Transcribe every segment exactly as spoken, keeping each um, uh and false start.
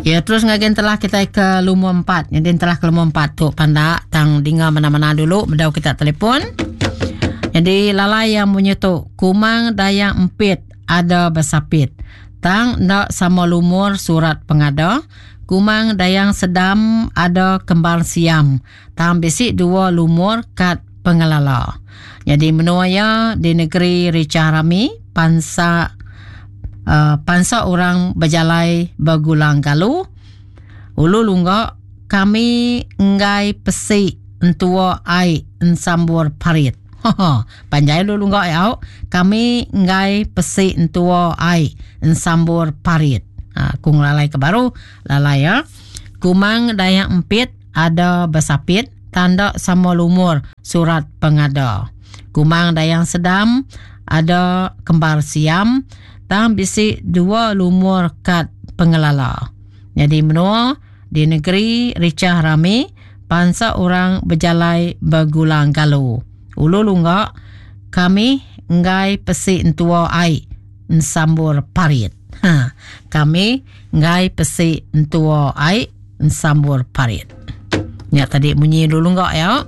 Ya terus ngagen telah kita ke lumur empat. Jadi telah ke lumur empat tu pandak tang dinga mana-mana dulu bedau kita telefon. Jadi lalai yang bunyi tu Kumang Dayang Empit ada besapit. Tang ndak sama lumur surat pengada. Kumang Dayang Sedam ada kembar siam. Tang bisi dua lumur kad pengelala. Jadi menua ya di negeri Richah Rami pansa Uh, pansa orang berjalai bergulang galu ulu lungga kami enggai pesi entua ai ensambur parit. Panjai ulu lungga ya. Kami enggai pesi entua ai ensambur parit. Ha, kung lalai ke baru lalai ya. Kumang Dayang Empit ada besapit tanda sama lumur surat pengada. Kumang Dayang Sedam ada kembar siam tang bisi dua lumur kad pengelala. Jadi menua di negeri Richah Rami pansa orang berjalai bergulang galu. Ulu lungga kami enggai pesi entua ai ensambur parit. Ha, kami enggai pesi entua ai ensambur parit. Ya tadi bunyi ulu lungga ya.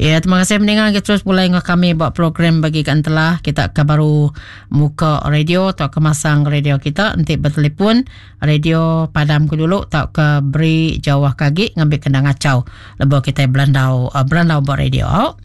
Ya, terima kasih mendengar. Kita terus mulai dengan kami buat program bagi kan telah kita ke baru muka radio atau ke masang radio kita nanti bertelefon radio padam ke dulu atau ke beri jauh kaki ngambil kena ngacau lebih kita belandau uh, belandau buat radio.